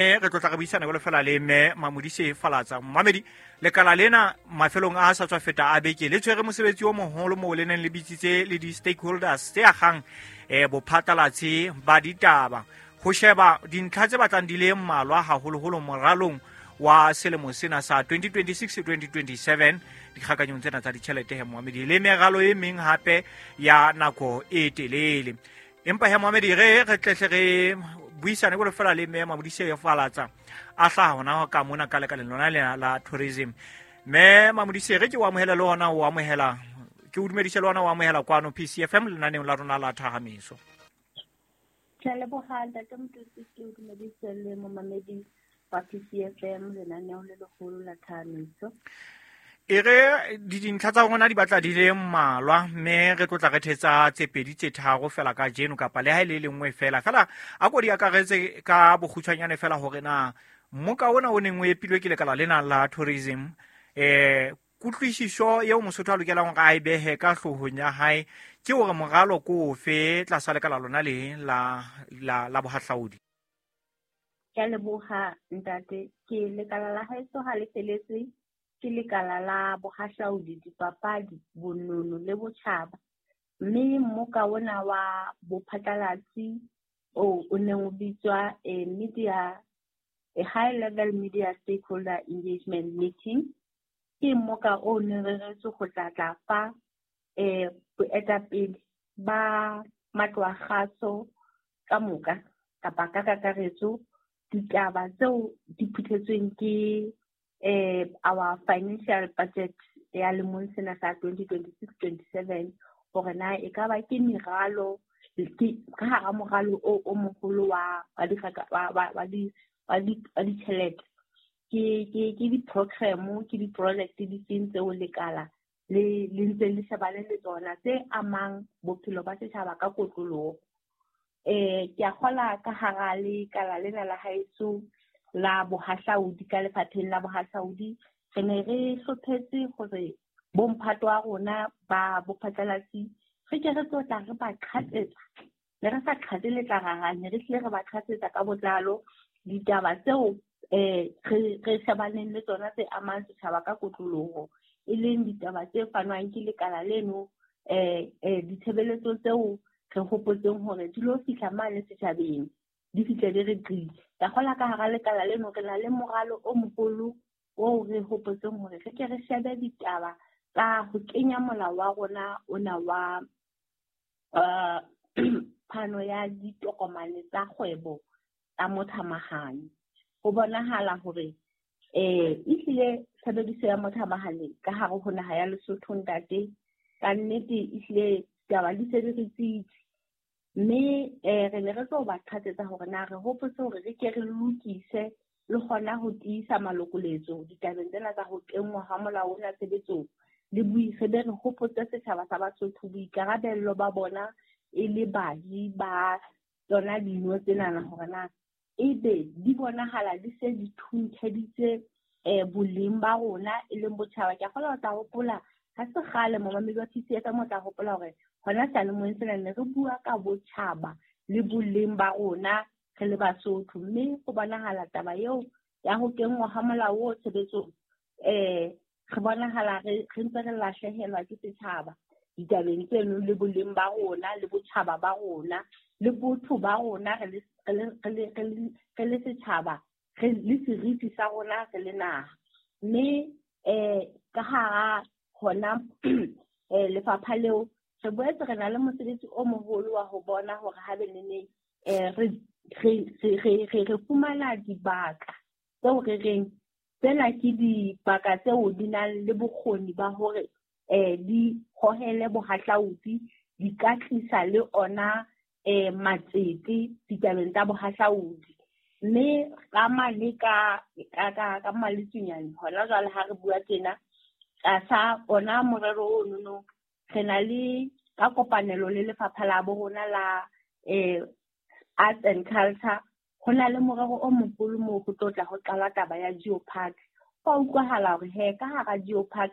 Re tlo tla re buisana jalo fela le mme Mamodise Falatsa. Mmamedi, lekala lena mafelong a sa tswa feta a beke le tshwere mosebetsi o moholo moo le neng le bitsitse le di-stakeholders tse agang bophatlalatsi ba ditaba go sheba dintlha tse batlang di le mmalwa, haholoholo moralong wa selemo sena sa 2026-2027, dikgakanyong tsena tsa ditjhelete he moamedi, le meralo e meng hape ya nako e telele. Empa he moamedi, re tlehle re buisane jalo fela le mme Mamodise Falatsa a hlaha hona ka mona ka lekaleng lona lena la tourism. Mme Mamodise, re ke o amohela le hona o amohela, ke o dumedise le hona o amohela kwano PCFM lenaneong la rona la Thahamiso. Ke a leboga, ntate Mototsi. Ke o dumedise le momamedi wa PCFM, lenaneo le legolo la Thahamiso. E re dintlha tsa rona di batla di le mmalwa, mme re tlotla re thetsa tse pedi tse tharo fela ka jeno, kapa le ha e le lengwe fela fela. A ko di akaretse ka bokgutshwanyane fela hore na mmoka ona o neng o epilwe ke lekala lena la tourism, kutlwisiso eo Mosotho a lokelang hore a e behe ka hloohong ya hae ke hore moralo ko ofe tlasa lekala lona le la bohahlaudi. Ke a leboga, ntate. Ke lekala la haeso ha le feletse, ke lekala la bohahlaudi, dipapadi, bonono le botjhaba, mme mmoka ona wa bophatlalatsi o neng o bitswa a media a high level media stakeholder engagement meeting, ke mmoka o neng re reretswe go tla tla fa boetapele ba matlo a kgaso ka moka kapa ka kakaretso ditaba tseo di phuthetsweng ke our financial budget ya lemong sena sa 2026-27, hore na e ka ba ke meralo ke ka hara moralo o moholo wa ditjhelete, ke di-program, ke di-project di feng tseo lekala le ntse le shebane le tsona tse amang bophelo ba setjhaba ka kotloloho. Ke a kgola ka hara lekala lena la haeso la bohahlaudi, ka lefapheng la bohahlaudi, re ne re hlophetse hore bomphato wa rona ba bophatlalatsi re ke re tlo tla re ba qhatsetsa. Ne re sa qhatse letlarara, ne re hlile re ba qhatsetsa ka botlalo ditaba tseo re shebaneng le tsona tse amang setjhaba ka kotloloho, e leng ditaba tse fanwang ke lekala leno, ditshebeletso tseo re hopotseng hore di lo fihla mane setjhabeng, di fihle di re qi. Ka kgola ka hara lekala leno re na le moralo o moholo oo re hopotseng hore re ke re shebe ditaba tsa ho kenya molao wa rona ona wa phano ya ditokomane tsa kgwebo tsa mothamahane. Ho bonahala hore ehlile tshebediso ya mothamahane ka hare ho naha ya Lesotho, ntate, ka nnete ehlile taba di se di re tsitsi, mme re ne re tlo ba qhatsetsa hore na re hopotse hore re ke re lokise le hona ho tiisa malokoletso ditabeng tsena tsa ho kenngwa ha molao ona tshebetsong, le re be re hopotse setjhaba sa Basotho boikarabello ba bona e le baji ba tsona dino tsenana, hore na ebe di bonahala di se di thuntheditse boleng ba rona e leng botjhaba. Ke a kgolwa o tla hopola ha se kgale, momamedi wa PCFM, o tla hopola hore hona seyalemoyeng sena ne re bua ka botjhaba le boleng ba rona re le Basotho, mme ho bonahala taba eo ya ho kenngwa ha molao o tshebetsong, re bonahala re ntse re lahlehelwa ke setjhaba ditabeng tseno le boleng ba rona le botjhaba ba rona le botho ba rona re le setjhaba, re le seriti sa rona re le naha. Mme ka hara hona lefapha leo re boetse re na le mosebetsi o moholo wa ho bona hore ha be neneng re fumana dibaka tseo re reng tsena ke dibaka tseo di nang le bokgoni ba hore di hohele bohahlaudi, di ka tlisa le ona matsete ditabeng tsa bohahlaudi. Mme ka mane ka Maletsunyane hona jwale ha re bua tjena tlasa ona morero ono, re na le ka kopanelo le lefapha la bo rona la Arts and Culture, ho na le morero o moholo moo ho tlo tla ho qala taba ya geopark. Ho a utlwahala hore he ka hara geopark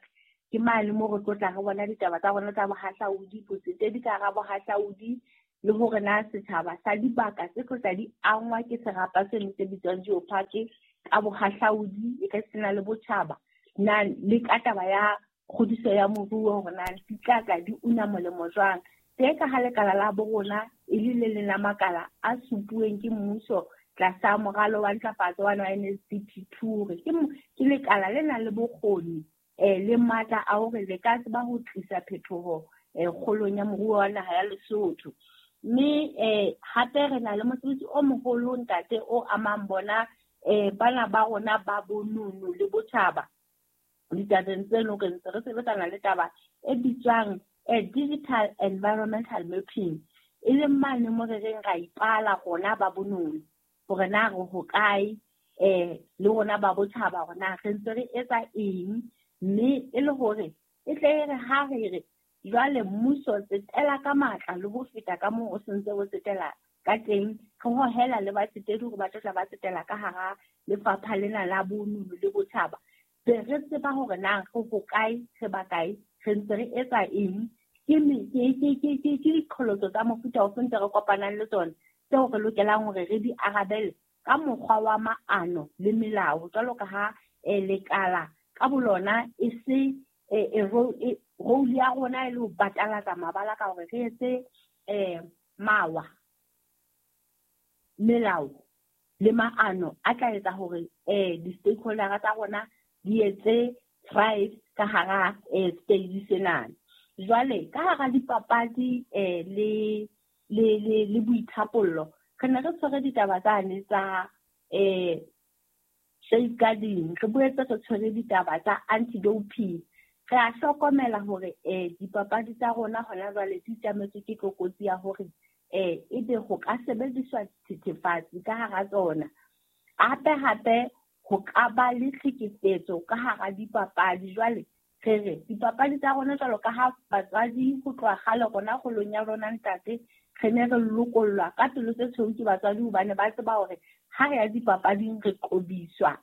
ke mane moo re tlo tla re bona ditaba tsa rona tsa bohahlaudi, botsetedi ka hara bohahlaudi. le hore na setjhaba sa dibaka tse tlo tla di angwa ke serapa seno se bitswang geopark ka bohahlaudi e ka sena le botjhaba, na le ka taba ya kgodiso ya moruo hore na di tla tla di una molemo jwang. Tse ka ha lekala la bo rona e le le leng la makala a supuweng ke mmuso tlasa moralo wa ntlafatso wa NSDP2, hore ke lekala le nang le bokgoni le matla a hore le ka tseba ho tlisa phetoho kgolong ya moruo wa naha ya Lesotho. Mme hape re na le mosebetsi o moholo ntate o amang bona bana ba rona ba bonono le botjhaba. Ditabeng tseno re ntse re sebetsana le taba e bitswang digital environmental mapping, e leng mane mo re reng ra ipala rona ba bonono hore na re hokae, le rona ba botjhaba hore na re ntse re etsa eng, mme e le hore e tle e re ha re re jwale mmuso tsetela ka matla le ho feta ka moo o sentse o tsetela ka teng, re hohela le batsetedi hore ba tlo tla ba tsetela ka hara lefapha lena la bonono le botjhaba, be re tseba hore na re hokae, re ba kae, re ntse re etsa eng, ke diqholotso tsa mofuta ofe ntse re kopanang le tsona tseo re lokelang hore re di arabele ka mokgwa wa maano le melao, jwalo ka ha lekala ka bolona e se role ya rona e le ho batalatsa mabala ka hore re etse mawa, melao le maano a tla etsa hore di-stakeholder tsa rona di etse thrive ka hara stage senana. Jwale ka hara dipapadi le boithapollo, re ne re tshwere ditaba tsane tsa safeguarding, re boetse re tshwere ditaba tsa anti-doping. Re a hlokomela hore dipapadi tsa rona hona jwale di tjametswe ke tlokotsi ya hore ebe ho ka sebediswa dithethefatsi ka hara tsona. Hape hape ho ka ba le tlhekefetso ka hara dipapadi. Jwale re re dipapadi tsa rona jwalo ka ha batswadi ho tloha kgale rona kgolong ya rona ntate, re ne re lokollwa ka pelo tse tshweu ke batswadi hobane ba tseba hore ha re ya dipapading re qobiswa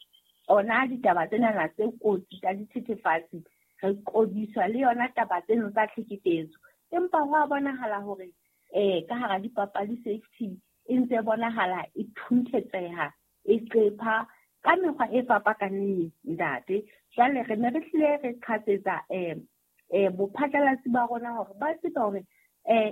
ona ditaba tsenana tse kotsi tsa dithethefatsi, re qobiswa le yona taba tseno tsa tlhekefetso. Empa ho a bonahala hore ka hara dipapadi safety e ntse bonahala e thunthetseha, e qepha ka mekgwa e fapakaneng ntate. Jwale re ne re hlile re qhatsetsa bophatlalatsi ba rona hore ba tsebe hore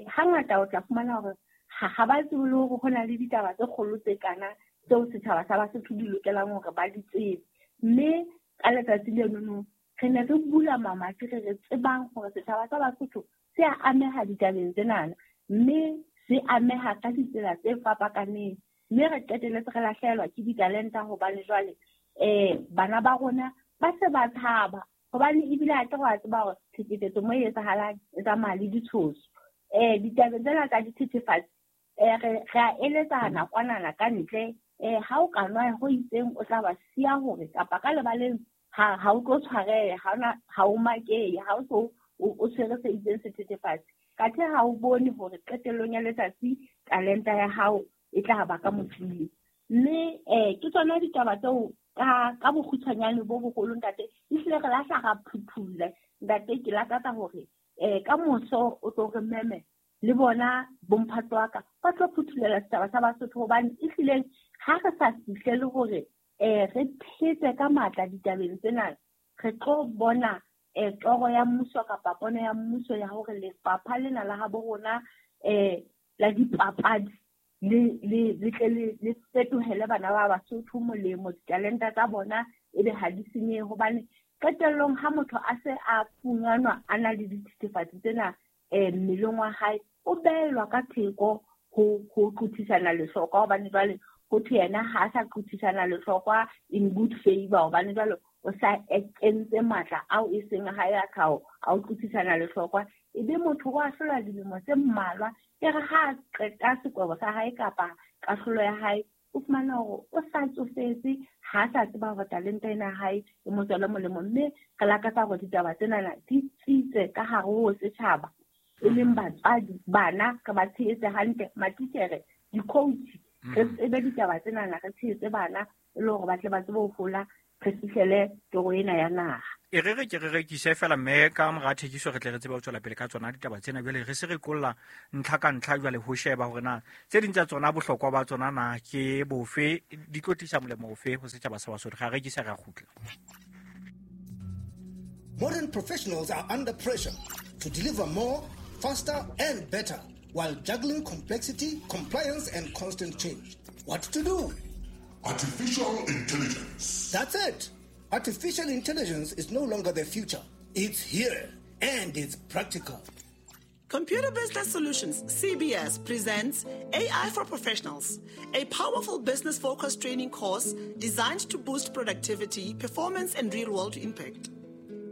hangata o tla fumana hore ha ba tsebe le hore ho na le ditaba tse kgolo tse kana tseo setjhaba sa Basotho di lokelang hore ba di tsebe. Mme ka letsatsi lenono re ne re bula mamati re re tsebang hore setjhaba sa Basotho se a ameha ditabeng tsenana, mme se ameha ka ditsela tse fapakaneng, mme re qetelletse re lahlehelwa ke ditalenta hobane jwale bana ba rona ba se ba tshaba, hobane ebile ha ke re wa tseba hore tlhekefetso mo e etsahalang e tsamaya le ditshoso. Ditabeng tsena tsa dithethefatsi re a eletsana kwanana ka ntle, ha o ka nwa ho itseng o tla ba siya hore kapa ka lebaleng ha o tlo tshwareha, ha o makehe, ha o so o tshwere se itseng sethethefatsi. Kathe ha o bone hore qetellong ya letsatsi talenta ya hao e tla ba ka mofing. Mme ke tsona ditaba tseo ka bokgutshwanyane bo boholo ntate, ehlile re lahla ra phuthulla ntate. Ke lakatsa hore ka moso o tlo re meme le bona bomphato wa ka ba tlo phuthulela setjhaba sa Basotho, hobane ehlileng ha re sa fihlele hore re phetse ka matla ditabeng tsena, re tlo bona toro ya mmuso kapa pono ya mmuso ya hore lefapha lena la habo rona la dipapadi le tle le fetohele bana ba Basotho molemo, ditalenta tsa bona ebe ha di senyehe. Hobane qetellong ha motho a se a funganwa a na le dithethefatsi tsena mmeleng wa hae, o behelwa ka theko ho qothisana lehlokwa, hobane jwale ho thwe yena ha a sa qothisana lehlokwa in good favor, hobane jwale o sa kentse matla ao e seng hae a tlhaho a o qothisana lehlokwa. Ebe motho o ahlolwa dilemo tse mmalwa, e re ha a qeta sekwebo sa hae kapa kahlolo ya hae, o fumana hore o sa tsofetse, ha a sa tseba hore talenta ena ya hae e mo tswele molemo. Mme re lakatsa hore ditaba tsenana di tsitse ka hare ho setjhaba, e leng batswadi, bana re ba tshehetse hantle, matitjhere, di-coach, re tsebe ditaba tsenana, re tshehetse bana e le hore ba tle ba tsebe ho hola, re fihlele toro ena ya naha. E re re ke re rekise fela mme ka mora thekiso re tle re tsebe ho tswela pele ka tsona ditaba tsena. Jwale re se re qolla ntlha ka ntlha jwale ho sheba hore na tse ding tsa tsona bohlokwa ba tsona na ke bofe, di tlo tlisa molemo ofe ho setjhaba sa Basotho. Ga rekisa ra kgutla. Modern professionals are under pressure to deliver more, faster and better while juggling complexity, compliance and constant change. What to do? Artificial intelligence. That's it. Artificial intelligence is no longer the future. It's here and it's practical. Computer Business Solutions, CBS, presents AI for Professionals, a powerful business-focused training course designed to boost productivity, performance, and real-world impact.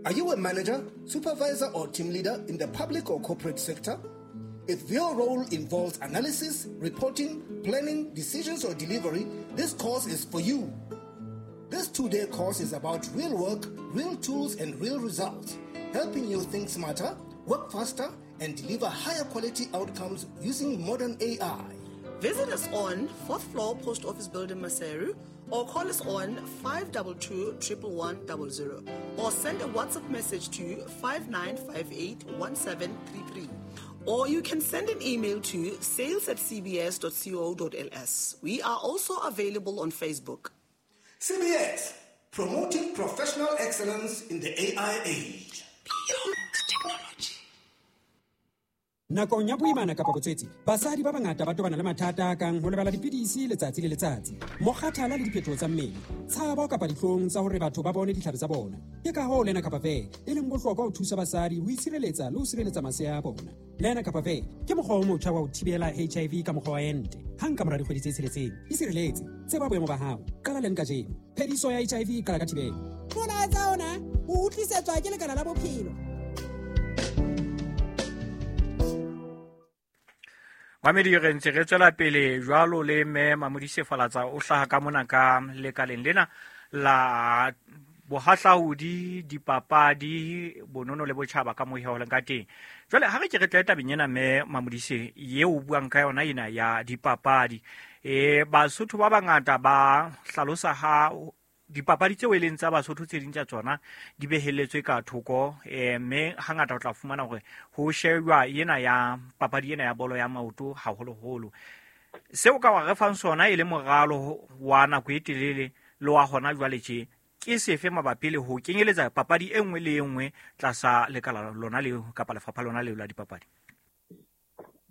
Are you a manager, supervisor, or team leader in the public or corporate sector? If your role involves analysis, reporting, planning, decisions, or delivery, this course is for you. This 2-day course is about real work, real tools, and real results, helping you think smarter, work faster, and deliver higher quality outcomes using modern AI. Visit us on 4th floor Post Office Building, Maseru, or call us on 522 11100, or send a WhatsApp message to 5958 1733. Or you can send an email to sales@cbs.co.ls. We are also available on Facebook. CBS, promoting professional excellence in the AI age. Beyond technology. Nakong ya boimana kapa botswetsi, basadi ba bangata ba tobana le mathata a kang ho lebala dipidisi letsatsi le letsatsi, mokgathala le diphetoho tsa mmele, tshabo kapa dihlong tsa hore batho ba bone ditlhare tsa bona. Ke ka hoo Lenacapavir e leng bohlokwa ho thusa basadi ho itshireletsa le ho sireletsa masea a bona. Lenacapavir ke mokgwa o motjha wa ho thibela HIV ka mokgwa wa ente. Hang ka mora dikgwedi tse tsheletseng, isireletse, tseba boemo ba hao, qala leng kajeno. Phediso ya HIV e qala ka thibelo. Molaetsa ona o utlwisetswa ke Lekala la Bophelo. Mamedi, re ntse re tswela pele jwalo le mme Mamodise Falatsa o hlaha ka mona ka lekaleng lena la bohahlaudi, dipapadi, bonono le botjhaba ka moo ho leng ka teng. Jwale ha re ke re tle tabeng ena mme Mamodise eo o buang ka yona ena ya dipapadi. Basotho ba bangata ba hlalosa ha dipapadi tseo e leng tsa Basotho tse ding tsa tsona di beheletswe ka thoko, mme hangata o tla fumana hore ho shejwa ena ya papadi ena ya bolo ya maoto haholoholo. Seo ka wa re fang sona e le moralo wa nako e telele le wa hona jwale tje ke sefe mabapi le ho kenyeletsa papadi e nngwe le e nngwe tlasa lekala lona leo kapa lefapha lona leo la dipapadi?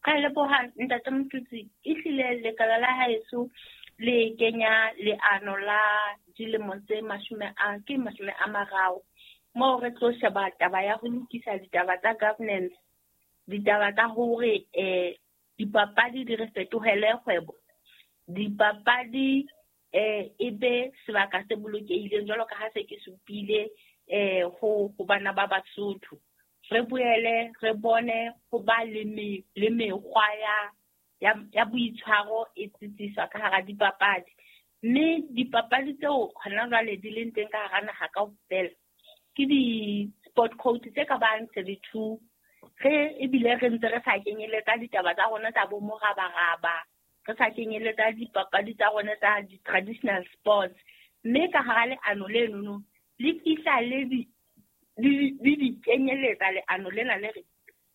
Ka leboha ntate Motutsi, ehlile lekala la haeso le kenya leano la dilemo tse 30 moo re tlo sheba taba ya ho lokisa ditaba tsa governance, ditaba tsa hore dipapadi di re fetohele kgwebo, dipapadi e be sebaka se bolokehileng jwalo ka ha se ke supile ho bana ba Basotho. Re boele re bone ho ba le mekgwa ya boitshwaro e tsitsiswa ka hara dipapadi. Mme dipapadi tseo hona jwale di leng teng ka hara naha kaofela ke di-sport code tse ka bang 32. Re ebile re ntse re sa kenyeletsa ditaba tsa rona tsa bo morabaraba, re sa kenyeletsa dipapadi tsa rona tsa di-traditional sports. Mme ka hara leano lenono le fihla le di kenyeletsa leano lena le re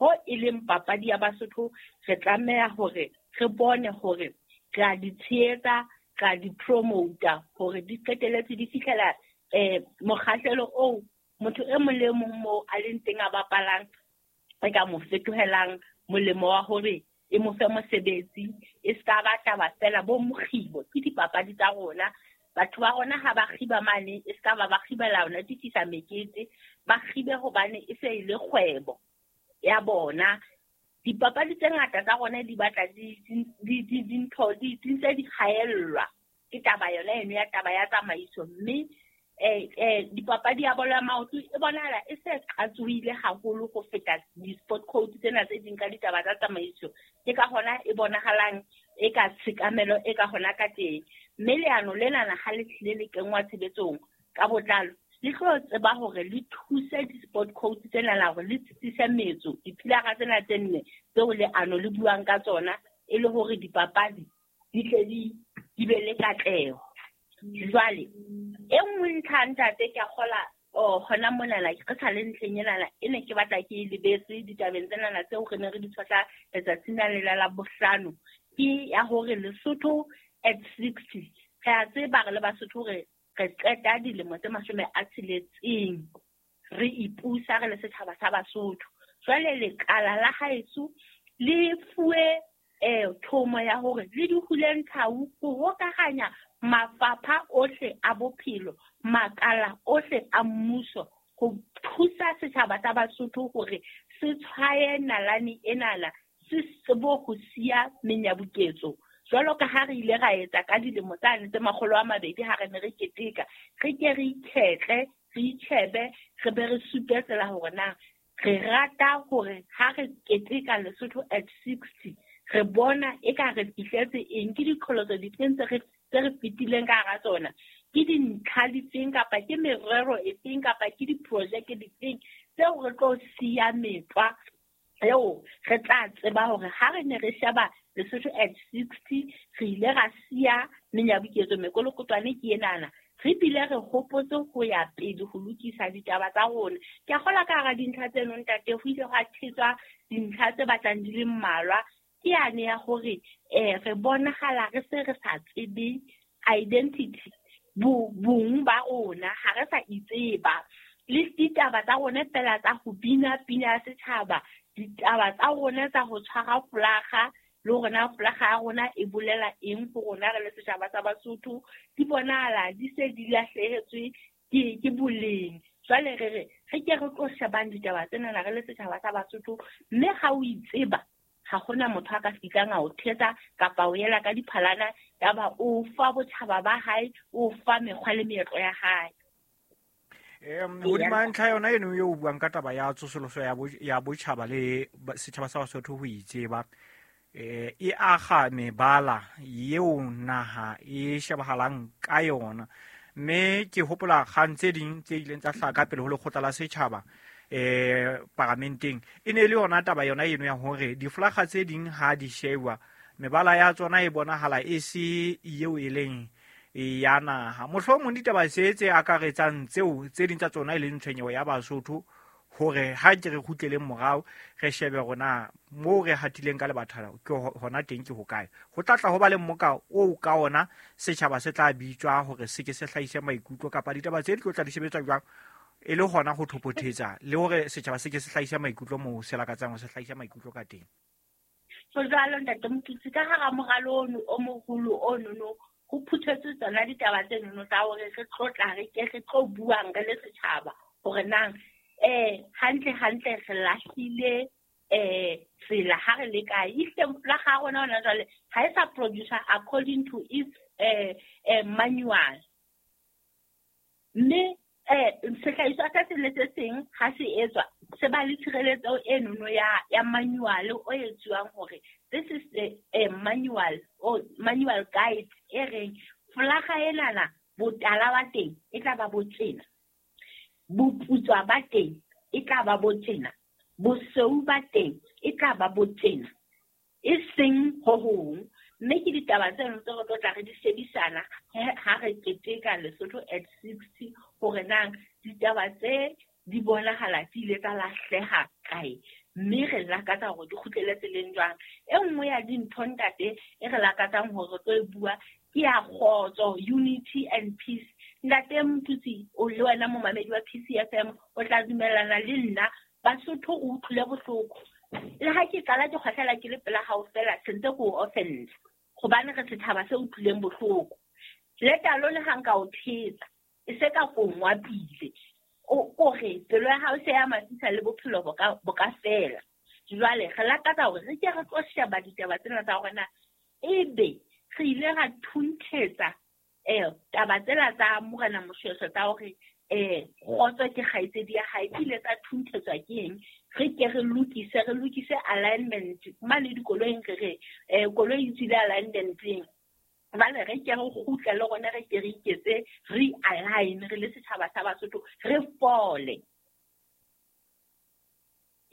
ho e leng papadi ya Basotho re tlameha hore re bone hore re a di tshehetsa, re a di promota hore di qetelletse di fihlela mokgahlelo oo motho e mong le mong moo a leng teng a bapalang e ka mo fetohelang molemo wa hore e mo fe mosebetsi, e ska ba taba fela bo mokgibo ke dipapadi tsa rona. Batho ba rona ha ba kgiba mane e ska ba ba kgibela ona di tlisa mekete, ba kgibe hobane e se e le kgwebo ya bona. Dipapadi tse ngata tsa rona di batla dintho di ntse di kgaellwa ke taba yona eno ya taba ya tsamaiso. Mme dipapadi ya bolo ya maoto e bonahala e se qatsohile haholo ho feta di-sport code tsena tse ding ka ditaba tsa tsamaiso. Ke ka hona e bonahalang e ka tshekamelo e ka hona ka teng. Mme leano lenana ha le tlile le kenngwa tshebetsong ka botlalo, le tlo tseba hore le thuse di-sport code tsena la hore le tsitsise metso dipilara tsena tse nne tseo leano le buang ka tsona, e le hore dipapadi di tle di be le katleho. Jwale e nngwe ntlha ntate ke a kgola Oh, hona monana ke sa le ntlheng enana e ne ke batla ke e lebetse ditabeng tsenana tseo re ne re di tshwahla letsatsing la lela la bohlano, ke ya hore Lesotho at 60. Re a tseba re le Basotho hore re qeta dilemo tse 60 re ipusa re le setjhaba sa Basotho. Jwale lekala la haeso le fuwe thomo ya hore le di hule nthau ho hokahanya mafapha ohle a bophelo, makala ohle a mmuso, ho thusa setjhaba sa Basotho hore se tshwaye nalane enana, se tsebe ho siya menyabuketso. Jwalo ka ha re ile ra etsa ka dilemo tsane tse 200 ha re ne re keteka, re ke re ikhetle, re itjhebe, re be re supe tsela hore na re rata hore ha re keteka Lesotho at 60 re bona eka re fihletse eng, ke diqholotso difeng tse re fetileng ka hara tsona, ke dintlha difeng kapa ke merero efeng kapa ke diprojeke difeng tseo re tlo siya metlwa eo re tla tseba hore ha re ne re sheba Lesotho at 60 re ile ra siya menyabuketso mekolokotwane ke enana, re bile re hopotse ho ya pele ho lokisa ditaba tsa rona. Ke a kgolwa ka hara dintlha tseno ntate ho ile hwa thetswa dintlha tse batlang di le mmalwa, ke yane ya hore re bonahala re se re sa tsebe identity, bong ba rona, ha re sa itseba. Le ditaba tsa rona fela tsa ho bina pina ya setjhaba, ditaba tsa rona tsa ho tshwara folaga, le hore na folaga ya rona e bolela eng ho rona re le setjhaba sa Basotho, di bonahala di se di lahlehetswe ke boleng. Jwale re re re ke re tlo shebang ditaba tsena re le setjhaba sa Basotho, mme ha o itseba ha hona motho a ka fihlang a o thetsa kapa o yela ka diphalana yaba o fa botjhaba ba hae, o fa mekgwa le meetlo ya hae. Hodima ntlha yona eno eo o buang ka taba ya tsosoloso ya botjhaba le setjhaba sa Basotho ho itseba, e aga mebala eo naha e shebahalang ka yona. Mme ke hopola kgang tse ding tse ileng tsa hlaha ka pele ho lekgotla la setjhaba paramenteng, e ne le yona taba yona eno ya hore difolaga tse ding ha di shewa mebala ya tsona e bonahala e se eo e leng ya naha. Mohlomong ditaba se tse akaretsang tseo tse ding tsa tsona e leng tshwenyeho ya Basotho, hore ha ke re kgutleleng morao re shebe rona moo re hatileng ka lebatha ke hona teng ke hokae. Ho tla tla ho ba le mmoka oo ka ona setjhaba se tla bitswa hore se ke se hlahise maikutlo kapa ditaba tse di tlo tla di sebetswa jwang, e le hona ho thopothetsa le hore setjhaba se ke se hlahise maikutlo moo se lakatsang ho se hlahisa maikutlo ka teng. So jwalo ntate Motutsi, ka hara moralo ono o moholo ono ho phuthetswe tsona ditaba tse nono tsa hore re tlo tla re ke re tlo buang re le setjhaba hore nang hantle hantle re lahlile tsela ha re le kae. Ehlile folaga ya rona hona jwale ha e sa producer according to its manual, mme sehlahiswa se seng le se seng ha se etswa se ba le tshireletso e nono ya manual o etsuwang hore this is a manual or manual guide e reng folaga enana botala ba teng e tla ba bo tjena, boputswa ba teng e tla ba bo tjena, bosweu ba teng e tla ba bo tjena, e seng ho hong. Mme ke ditaba tseno tse re tlo tla re di shebisana ha re keteka Lesotho at 60 hore nang ditaba tse di bonahala di ile tsa lahleha kae, mme re lakatsa hore di kgutlele tseleng jwang. E nngwe ya dintho ntate e re lakatsang hore re tlo e bua ke ya kgotso, unity and peace. Ntate Motutsi, o le wena momamedi wa PCFM o tla dumellana le nna, Basotho o utlwile bohloko. Le ha ke qala ke kgwahlela ke le pela hao fela, sentse ke o offend hobane re setjhaba se utlwileng bohloko. Le talo le ha nka o thetsa, e se ka kongwa pile, o re pelo ya hao se ya matisa le bophelo bo ka fela. Jwale re lakatsa hore re ke re tlo sheba ditaba tsena tsa hore na ebe re ile ra thunthetsa taba tsela tsa Morena Moshoeshoe tsa hore kgotso ke kgaitsedi ya hae, di ile tsa thunthetswa ke eng. Re ke re lokise alignment mane dikoloing, re re koloi e tswile alignmenteng, jwale re ke re kgutle le rona re ke re iketse re-align re le setjhaba sa Basotho, re fole.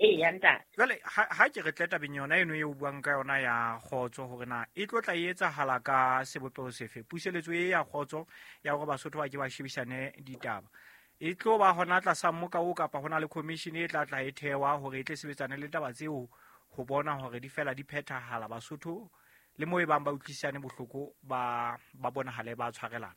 Eya ntate. Jwale ha ke re tle tabeng yona eno eo o buang ka yona ya kgotso, hore na e tlo tla e etsahala ka sebopeho sefe, puseletso e ya kgotso ya hore Basotho ba ke ba shebisane ditaba. E tlo ba hona tlasa mmoka o kapa hona le commission e tla tla e thewa hore e tle sebetsane le taba tseo ho bona hore di fela di phethahala Basotho le mo e bang ba utlwisisane bohloko ba bonahale ba tshwarelana.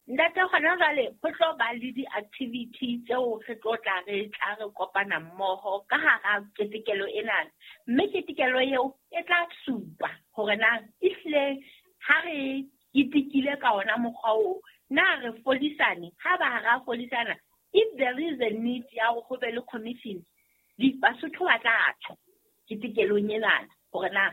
Ntate, hona jwale ho tlo ba le di-activity tseo re tlo tla re tla re kopana mmoho ka hara ketekelo ena, mme ketekelo eo e tla supa hore na ehlile ha re ketekile ka ona mokgwa oo, na re fodisane. Ha ba ha ra fodisana, if there is a need ya hore ho be le commission, Basotho ba tla tjho ketekelong enana hore na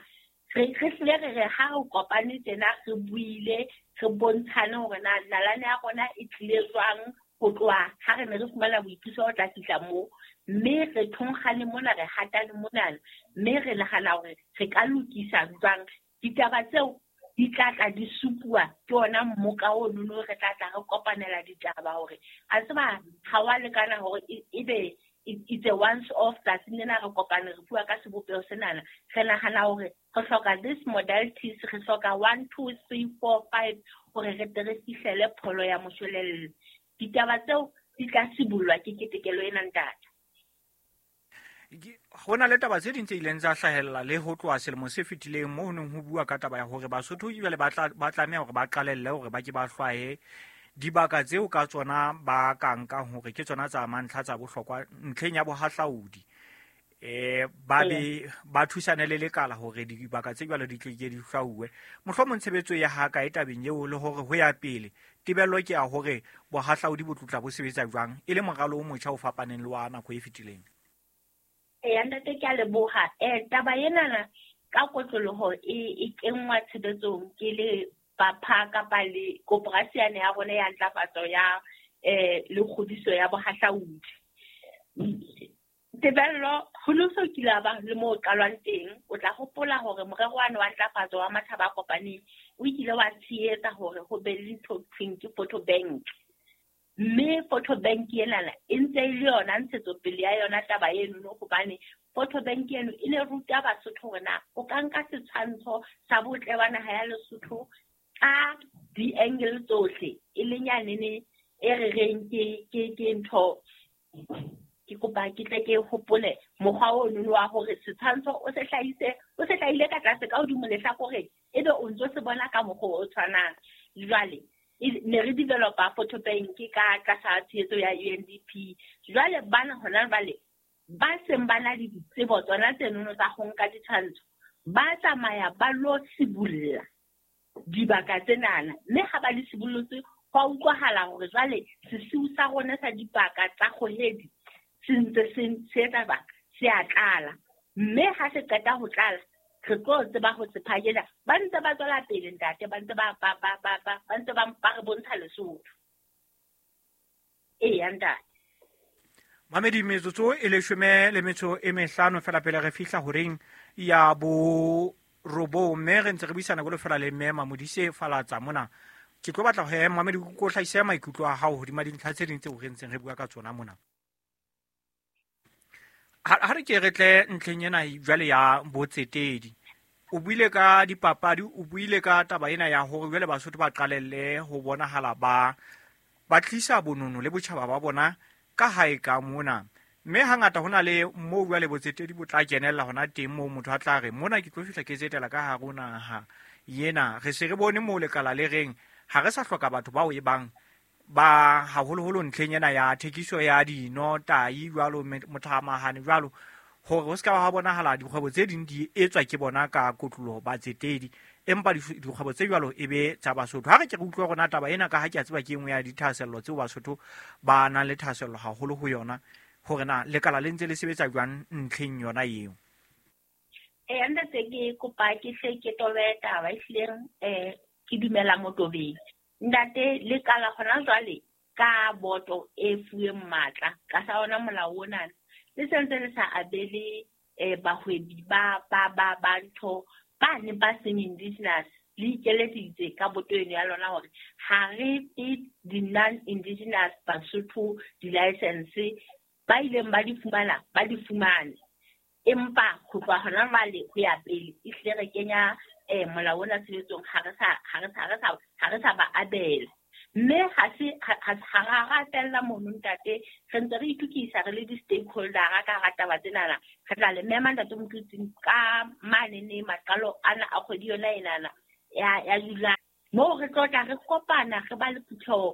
re hlile re re ha re kopane tjena re buile, re bontshane hore na nalane ya rona e tlile jwang ho tloha ha re ne re fumana boipuso ho tla fihla moo, mme re thonkgane mona, re hatane monana, mme re nahana hore re ka lokisa jwang. Ditaba tseo di tla tla di supuwa ke ona mmoka ono re tla tla re kopanela ditaba hore a tseba ha wa lekana hore ebe it's a once off tsatsing lena re kopane re bua ka sebopeho senana. Re nahana hore re hloka this modalities, re hloka 1 2 3 4 5 hore re tle re fihlele pholo ya moshwelella. Ditaba tseo di tla sibollwa ke ketekelo ena, ntate. Ho na le taba tse ding tse ileng tsa hlahella le ho tloha selemo se fetileng moo ho neng ho bua ka taba ya hore Basotho jwale ba tlameha hore ba qalelle hore ba ke ba hlwaye dibaka tseo ka tsona ba ka nkang hore ke tsona tsa mantlha tsa bohlokwa ntlheng ya bohahlaudi. Ba be ba thusane le lekala hore dibaka tse jwalo di tle ke di hlwauwe. Mohlomong tshebetso ya ha kae tabeng eo, le hore ho ya pele tebello ke ya hore bohahlaudi bo tlotla bo sebetsa jwang e le moralo o motjha o fapaneng le wa nako e fetileng. Eya ntate, ke a leboha. Taba enana ka kotloloho e kenngwa tshebetsong ke le bapha kapa le koporasi yane ya rona ya ntlafatso ya le kgodiso ya bohahlaudi. Tebello ho no so kile ba le moo qalwang teng. O tla hopola hore morero wane wa ntlafatso wa matjhaba a kopaneng o ile wa tshehetsa hore ho be le ntho thweng ke photo bank, mme photo bank enana e ntse e le yona ntshetsopele ya yona taba eno, hobane photo bank eno e ne ruta Basotho hore na o ka nka setshwantsho sa botle ba naha ya Lesotho ka di-angle tsohle, e leng yanene e re reng ke ntho. Ke kopa ke tle ke hopole mokgwa ono wa hore setshwantsho o se hlahise, o se hlahile ka tlase ka hodimo lehlakoreng, ebe o ntso se bona ka mokgwa o tshwanang. Jwale ne re developa photo bank ka tlasa tshehetso ya UNDP. Jwale bana hona jwale ba seng ba na le ditsebo tsona tsenono tsa ho nka ditshwantsho, ba tsamaya ba lo sibulla dibaka tsenana, mme ha ba di sibullotse ho a utlwahala hore jwale sesiu sa rona sa dibaka tsa kgohedi se ntse se etsa baka se a tlala, mme ha se qeta ho tlala re tlo tseba ho se phakela. Ba ntse ba tswela pele ntate, ba ntse ba ntse ba re bontsha Lesotho. Eya ntate. Mamedi, metsotso e 15 fela pele re fihla horeng ya bo 9, mme re ntse re buisana jwalo fela le mme Mamodise Falatsa mona. Ke tlo batla ho mamedi ko hlahise maikutlo a hao hodima dintlha tse ding tseo re ntseng re bua ka tsona mona. Ha re ke re tle ntlheng ena jwale ya botsetedi. O buile ka dipapadi, o buile ka taba ena ya hore jwale Basotho ba qalelle ho bonahala ba tlisa bonono le botjhaba ba bona ka hae ka mona. Mme hangata hona le moo jwale botsetedi bo tla kenella hona teng, moo motho a tla re mona ke tlo fihla ke tsetela ka hare ho naha ena. Re se re bone moo lekala le reng ha re sa hloka batho bao e bang ba haholoholo ntlheng ena ya thekiso ya dino, tai jwalo, mothamahane jwalo, hore ho se ka ha bonahala dikgwebo tse ding di etswa ke bona ka kotloloho batsetedi, empa dikgwebo tse jwalo e be tsa Basotho. Ha re ke re utlwe rona taba ena, ka ha ke a tseba ke e nngwe ya dithahasello tseo Basotho ba nang le thahasello haholo ho yona, hore na lekala le ntse le sebetsa jwang ntlheng yona eo. Ntate, ke kopa ke hle ke tobe taba ehlileng, ke dumela motobeng. Ntate, lekala hona jwale ka boto e fuweng matla ka sa ona molao ona, le sentse le sa abele bahwebi ba ntho ba ne ba seng indigenous, le ikeleditse ka boto eno ya lona hore ha re fe di-non-indigenous Basotho di-license, ba ileng ba di fumana ba di fumane, empa ho tloha hona jwale ho ya pele ehlile re kenya molao ona tshebetsong, ha re sa ba abela. Mme ha se ha ra ratella mono ntate, re ntse re itukisa re le di-stakeholdera ka hara taba tsenana. Re tla le mema ntate Motlotsing ka manene maqalo ana a kgwedi yona enana ya July, moo re tlo tla re kopana re ba le phutheho.